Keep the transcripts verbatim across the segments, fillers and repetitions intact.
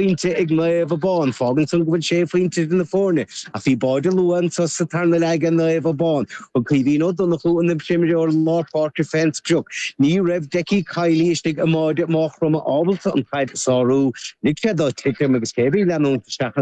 phointe ag Naomh Abán, fágann san go bhfuil sé phointe idir na foirne, ach bhí báide luath anso sa tarna leath ag Naomh Abán. Thug Caoimhín Ó Donnchú an t-imreoir lár páirce fén sprioc. Ní raibh Decky Kiely istigh i mbáide Mhaigh Chromtha ábalta an chaid a sárú. Lig sé dó titim agus cé a bhí ag leanúint isteach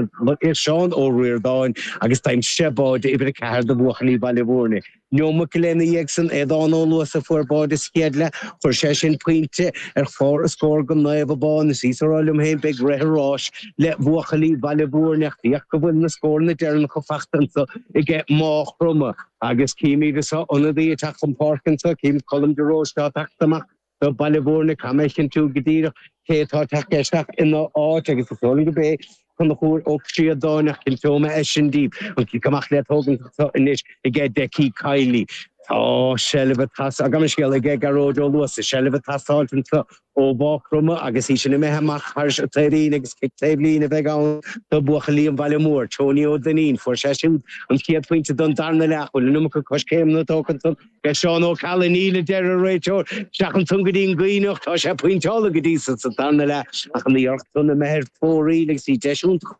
Seán Ó Ríordáin agus d'aimsigh sé báide uimhir a ceathair do bhuachaillí Bhaile Bhúirne. Neomat go leith ina dhiaidh san, Aodán Ó Luasa a fuair báide sa chéad leath, chuir sé sin pointe ar chlár an scóir do Naomh Abán. Is í a rá liom féin, beidh rith an ráis le buachaillí Bhaile Bhúirne ach féach go bhfuil na scóranna deireanacha fachta anso aige Maigh Chromtha. Agus címid anso ionadaí ag teacht chun páirce anso, cím Colm de Róiste ag teacht amach do Bhaile Bhúirne, caithfidh mé a chinntiú go díreach cé atá ag teacht isteach ina áit agus is dóigh liom gurb é Conchúr Ó Críodáin ach cinnteoidh mé é sin daoibh. An cic amach le tógaint anso anois aige Decky Kiely. Tá seilbh ag teastáil, gabh mo leithscéal, aige Gearóid Ó Luasa, seilbh ag teastáilt anso ó Mhaigh Chromtha agus í sin imithe amach thar an taobhlíne agus cic taobhlíne a bheidh ann do bhuachaillí an Bhaile Mhóir. Tony Ó Duinnín, fuair sé siúd an chéad phointe don darna leath. Bhfuil an iomarca coiscéimeanna tógtha ansan ag Seán Ó Ceallaigh? Níl, a deir an réiteoir. Isteach ansan go dtí an Gaibhneach. Tá sé pointeáilte go dtí so sa darna leath ach an iarracht san imithe ar fóraoil agus bhí deis iontach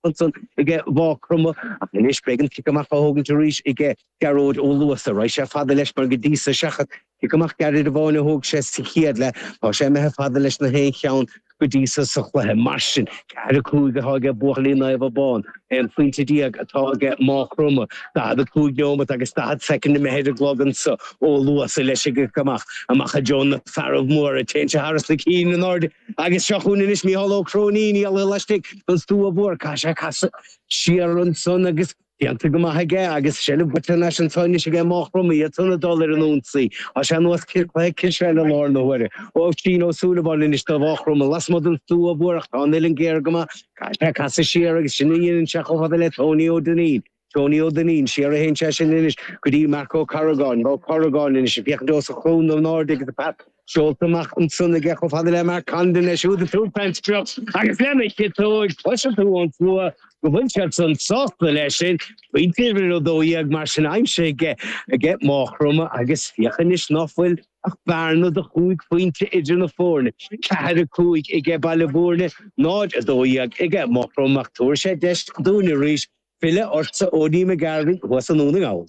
ansan aige Mhaigh Chromtha ach anois beidh an cic amach á thógaint arís aige Gearóid Ó Luasa. Raghaidh sé fada leis mar go dtí so seachas cic amach gairid amháin a thóg sé sa chéad leath, tá sé imithe fada leis na haon cheann go dtí so sa chluiche. Mar sin, ceathair a cúig atá aige buachaillí Naomh Abán, aon phointe déag atá aige Maigh Chromtha, daichead a cúig neomat agus daichead soicind imithe ar an gclog anso. Ó Luasa leis an gcic amach, amach i dtreo na fearaibh móra, téann sé thar na cinn in airde agus seo chugainn anois Mícheál Ó Cróinín, í laistigh den stua mhór, caithfidh sé casadh siar ansan agus Déanta go maith aige agus seilbh faighte thar n-ais anso anois aige Maigh Chromtha, iad san ag dul ar an ionsaí. Tá sé ar nós cluiche cispheile i láthair na huaire. Oisín Ó Súilleabháin anois do Mhaigh Chromtha lasmuigh den stua mhór ach tá an uillinn géar go maith. Caithfidh sé casadh siar agus sin a dhéanann sé chomh fada le Tony Ó Duinnín. Tony Ó Duinnín, siar a théann sé sin anois go dtí Marc Ó Carragáin. Ó Carragáin anois ag féachaint os a chionn in airde agus an pas seolta amach ansan aige chomh fada le Mark Condon, é siúd ag tabhairt fén sprioc agus lena chiotóig, cloiseann tú ón slua go bhfuil siad san sásta leis sin. Pointe uimhir a dó dhéag mar sin aimsithe aige aige Maigh Chromtha agus féach anois ná fuil ach bearna de chúig phointe idir na foirne, ceathair a cúig aige Baile Bhúirne, náid a dó dhéag aige Maigh Chromtha ach tabharfaidh sé deis dúinn arís filleadh ortsa Ody McGarvey thuas i nDún na nGall.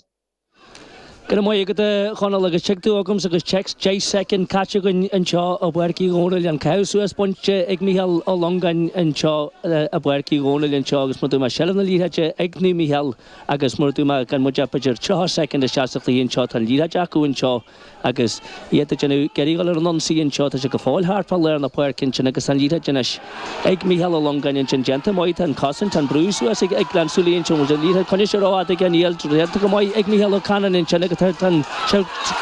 Go raibh maith agat a Chonaill agus tig tú agamsa agus téacs deich soicind caite againn anseo i bPáirc Uí Dhónaill, an caitheamh suas bainte ag Mícheál Ó Longáin anseo i bPáirc Uí Dhónaill anseo agus mar a dúirt mé seilbh na liathróide ag Naomh Mícheál agus mar a dúirt mé gan muid ach b'fhéidir tríocha soicind isteach sa chluiche anseo tá an liathróid acu anseo agus iad ag déanamh ag iarraidh dul ar an ionsaí anseo. Tá sé go fóill thart fá lár na páirce ansin agus tá an liathróid anois ag Mícheál Ó Longáin ansin. Déanta maith, tá an cosaint, tá an brú suas ag Gleann tSúilí ansin. Bhfuil an liathróid coinnithe sé rófhada aige? Níl. Déanta go maith ag Mícheál Ó Canainn ansin agus tá an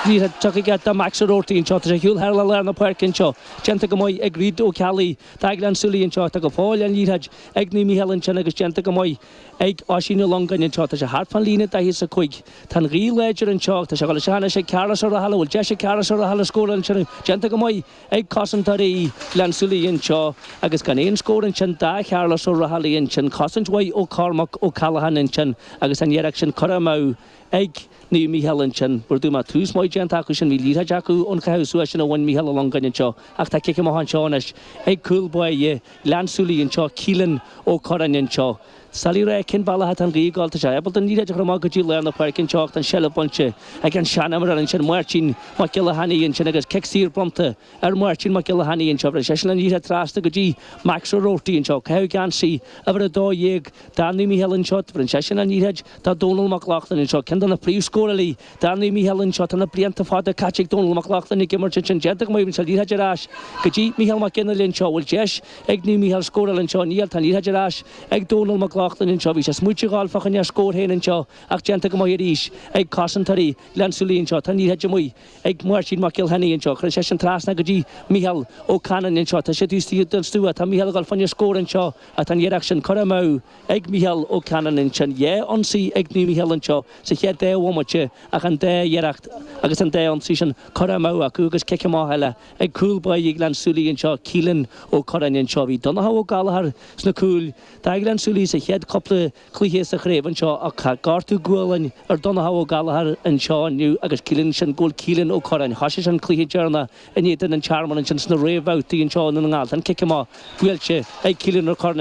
liathróid tugtha aige do Max O'Rourty anseo. Tá sé ar shiúl thar le lár na páirce anseo. Déanta go maith ag Reid Ó Ceallaigh do Ghleann tSúilí anseo. Tá go fóill an liathróid ag Naomh Mícheál ansin agus déanta go maith ag Oisín Ó Longáin anseo. Tá sé thart fán líne daichead is a cúig. Tá an ghaoth láidir anseo. Tá sé ag dul isteach anois ag Carlos Ó Rathaille. Bhfuil deis ag Carlos Ó Rathaille scóráil ansin? Déanta go maith ag cosantóirí Ghleann tSúilí anseo agus gan aon scór ansin do Charlos Ó Rathaille ansin. Cosaint mhaith ó Cormac Ó Callaghan ansin agus an iarracht sin curtha amú ag Naomh Mícheál ansin. Mar a dúirt mé, tús maith déanta acu sin. Bhí liathróid acu ón chaitheamh suas sin a bhain Mícheál Ó Longáin anseo ach tá cic amach anseo anois ag cúl báire Ghleann tSúilí anseo, Keelan Ó Curráin anseo. Doiligh a rá cén bealach atá an ghaoth ag dul. Tá sé ábalta an liathróid a chur amach go dtí lár na páirce anseo ach tá an seilbh bainte ag an seanimreoir ansin, Máirtín Mac Giolla Chainnigh ansin agus cic saor bronnta ar Mháirtín Mac Giolla Chainnigh anseo. Bhreathnaigh seisean an liathróid trasna go dtí Max O'Rourty anseo. Caitheadh geansaí uimhir a dó dhéag do Naomh Mícheál anseo. Bhronn seisean an liathróid do Dónal Mac Lochlainn anseo, ceann de na príomhscórálaí do Naomh Mícheál anseo. Tá na blianta fada caite ag Dónal Mac Lochlainn ag imirt ansin. Déanta go maith, bhronn sé an liathróid ar ais go dtí Mícheál Mac Fhionnghaile anseo. Bhfuil deis ag Naomh Mícheál scóráil anseo? Níl. Tá an liathróid ar ais ag Dónal Mac Lochlainn anseo. Bhí sé smaoite a dhul fá choinne a scór féin anseo ach déanta go maith arís ag cosantóirí Ghleann tSúilí anseo. Tá an liathróid amuigh ag Máirtín Mac Giolla Chainnigh anseo. Cuireann seisean trasna go dtí Mícheál Ó Canainn anseo. Tá sé taobh istigh den stua. Tá Mícheál ag dul fá choinne scór anseo ach tá an iarracht sin curtha amú ag Mícheál Ó Canainn ansin. Dhá ionsaí ag Naomh Mícheál anseo sa chéad dá bhomaite ach an dá iarracht agus an dá ionsaí sin curtha amú acu agus cic amach eile ag cúl báire Ghleann tSúilí anseo, Keelan Ó Curráin anseo. Bhí Donncha Ó Gallchóir sna cúil do Ghleann tSúilí sa chéad chéad cúpla cluiche sa chraobh anseo ach tá gortú gualainn ar Donncha Ó Gallchóir anseo inniu agus ciallaíonn sin go bhfuil Keelan Ó Curráin. Thosaigh an cluiche deireanach in éadan an Tearmann ansin sna réamhbhabhtaí anseo i nDún na nGall. An cic amach buailte ag Keelan Ó Curráin.